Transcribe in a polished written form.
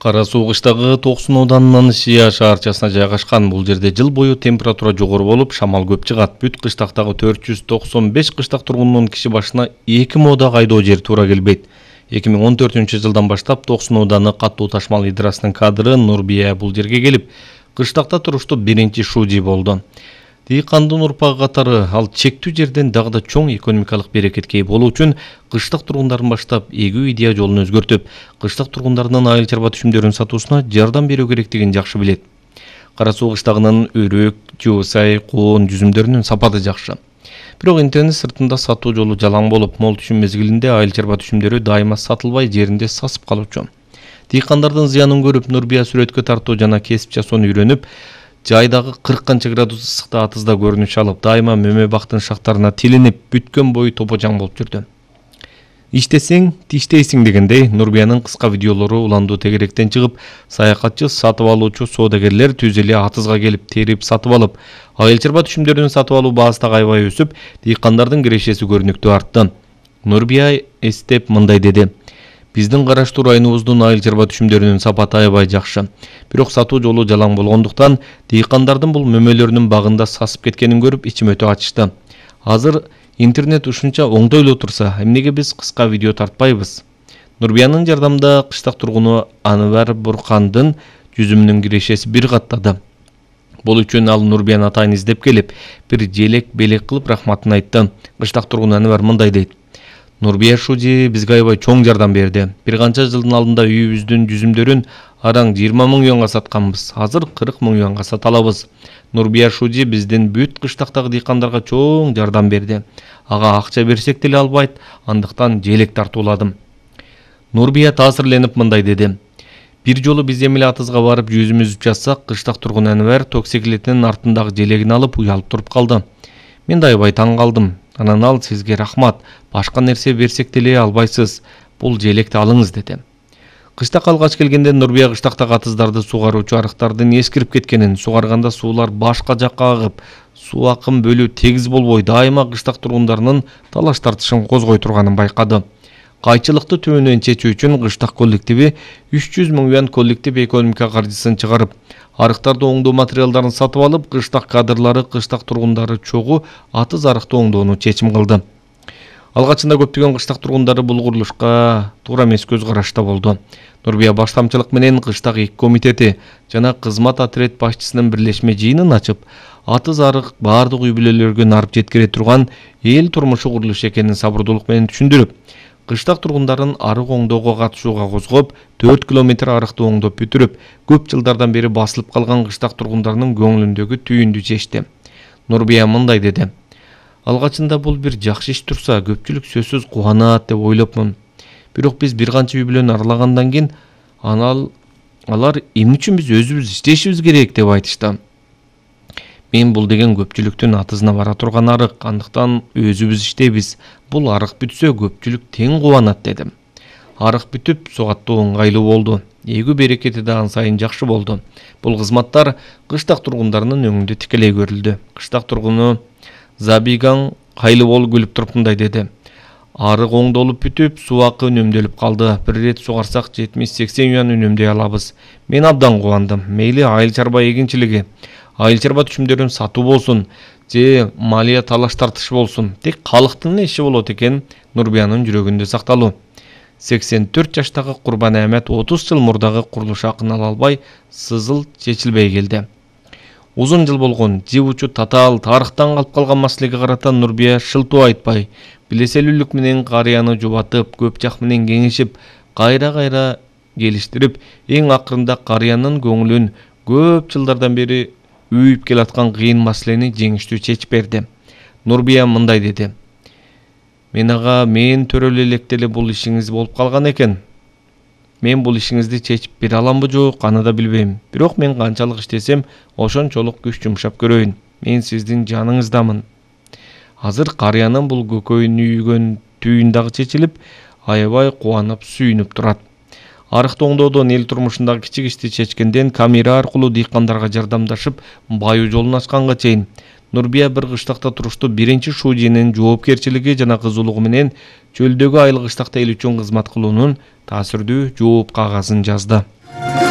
Кара Суу кыштагы Токсон ауданынын Шия шаарчасына жайгашкан. Бул жерде жыл бою температура жогору болуп, шамал көп чыгат. Бүт кыштактагы 495 кыштак тургунунун киши башына 2 мода кайдоо жер туура келбейт. 2014-жылдан баштап Токсон ауданы каттуу ташмал идрасынын кадры Нурбия бул жерге келип, кыштакта туруштуу биринчи шужи болду. Дыйкандын урпагы катары ал чектүү жерден дагы да чоң экономикалык берекетке ээ болуу үчүн кыштак тургундарын баштап эгүү идея жолун өзгөртүп, кыштак тургундарынын айыл чарба түшүмдөрүн сатуусуна жардам берүү керектигин жакшы билет. Кара Суу кыштагынын өрөк, жуусай, коон жүзүмдөрүнүн сапаты жакшы. Бирок интернет сыртында сатуу жолу жалаң болуп, мол түшүм мезгилинде айыл чарба түшүмдөрү дайыма сатылбай жеринде сасып калуучу. Дыйкандардын зыянын көрүп, Нурбия сүрөткө тартуу жана кесип жасоону үйрөнүп, жайдагы 40 канча градус ысыкта атызда көрүнүш алып, дайыма мөмө бактын шактарына тилинип, бүткөн бою топожаң болуп жүрдү. Иштесең, тиштейсиң дегендей, Нурбиянын кыска видеолору уландуу тегеректен чыгып, саякатчы, сатып алуучу соодагерлер түз эле атызга келип терип сатып алып, айыл чарба түшүмдөрүн сатып алуу баасы да аябай өсүп, дыйкандардын кирешеси көрүнүктүү артты. Нурбия эстеп мындай деди: Биздин караштуу районубуздун айыл чарба түшүмдөрүнүн сапаты аябай жакшы. Бирок сатуу жолу жалаң болгондуктан дыйкандардын бул мөмөлөрүнүн багында сасып кеткенин көрүп ичим өтө ачышты. Азыр интернет ушунча оңдой эле турса, эмнеге биз кыска видео тартпайбыз? Нурбиянын жардамында кыштак тургуну Анвар Буркандын жүзүмүнүн кирешеси бир каттады. Бул үчүн ал Нурбияны атайын издеп келип, бир желек белек кылып рахматын айтты. Кыштак тургуну Анвар мындай дейт: Нурбия шужи бизге аябай чоң жардам берди. Бир канча жылдын алдында үйүбүздүн жүзүмдөрүн араң 20 000 юанга сатканбыз. Азыр 40 000 юанга сата алабыз. Нурбия шужи биздин бүт кыштактагы дыйкандарга чоң жардам берди. Ага акча берсек деле албайт, андыктан желек тартууладым. Нурбия таасирленип мындай деди: Бир жолу биз эмеле атызга барып жүзүм үзүп жатсак, кыштак тургун Анвар токсиклетинин артындагы желегин алып уялып туруп калды. Мен да аябай таң калдым. Анан ал: Сизге рахмат, башка нерсе берсек деле албайсыз, бул желекти алыңыз деди. Кыштак алгач келгенде Нурбия кыштактагы атыздарды сугаруучу арыктардын эскирип кеткенин, сугарганда суулар башка жакка агып, суу акым бөлүү тегиз болбой, дайыма кыштак тургундарынын талаш тартышын козгой турганын байкады. Кайчылыкты түбүнөн чечүү үчүн кыштак коллективи 300 000 юан коллектив экономика каржысын чыгарып, арыктарды оңдоо материалдарын сатып алып, кыштак кадрлары, кыштак тургундары чогуу атыз арыкты оңдоону чечим кылды. Алгачында көптөгөн кыштак тургундары бул курулушка туура эмес көз карашта болду. Нурбия баштамчылык менен кыштак эки комитети жана кызмат отряд башчысынын бирлешме жыйынын ачып, атыз арык баардык үй бүлөлөргө нарып жеткире турган эл турмушу курулуш экенин сабырдуулук менен түшүндүрүп, кыштак тургундарын арык оңдоого катышууга козгоп, 4 километр арыкты оңдоп бүтүрүп, көп жылдардан бери басылып калган кыштак тургундарынын көңүлүндөгү түйүндү чечти. Нурбия мындай деди: Алгачында бул бир жакшы иш турса, көпчүлүк сөзсүз кубанат деп ойлопмун. Бирок биз бир канча үй бүлөнү аралагандан кийин алар эмне үчүн биз өзүбүз иштешибиз керек деп айтышты. Мен бул деген көпчүлүктүн атызына бара турган арык, андыктан өзүбүз иштейбиз. Бул арык бүтсө көпчүлүк тең кубанат дедим. Арык бүтүп, сугаттуу ыңгайлуу болду. Эгүү берекети да ан сайын жакшы болду. Бул кызматтар кыштак тургундарынын өңүндө тикелей көрүлдү. Кыштак тургуну Забиган Кайлыбол күлүп туруп мындай деди: Арык оңдолуп бүтүп, суу акы үнөмдөлүп калды. Бир рет сугарсак 70-80 юан үнөмдөй алабыз. Мен абдан кубандым. Мейли айыл чарба эгинчилиги, айыл чарба түшүмдөрүн сатуу болсун, же малия талаш тартыш болсун, тек калктын иши болот экен. Нурбиянын жүрөгүндө сакталуу. 84 жаштагы Курбан Ахмет 30 жыл мурдагы курулуш акын ала албай, сызыл чечилбей келди. Узун жыл болгон, живучу татаал тарыхтан калып калган маселеге карата Нурбия шылтуу айтпай, билеселүүлүк менен карыяны жубатып, көп жак менен кеңешип, кайра келиштирип, эң акырында карыянын көңүлүн көп жылдардан бери үйүп келаткан кыйын маселени жеңиштүү чечип берди. Нурбия мындай деди: Мен төрөлө электе эле бул ишиңиз болуп калган экен. Мен бул ишиңизди чечип бере аламбы жок, аны да билбейм. Бирок мен канчалык иштесем, ошончолук күч жумшап көрөйүн. Мен сиздин жаныңыздамын. Азыр карыянын бул көкөйүн үйгөн түйүн дагы чечилип, аябай кубанып, сүйүнүп турат. Арыкты оңдоодон эл турмушундагы кичик ишти чечкенден камера аркылуу дыйкандарга жардамдашып, баюу жолун ачканга чейин Нурбия бир кыштакта туруштуу биринчи шужинин жоопкерчилиги жана кызуулугу менен чөлдөгү айыл кыштакта эл үчүн кызмат кылуунун таасирдүү жооп кагазын жазды. берет.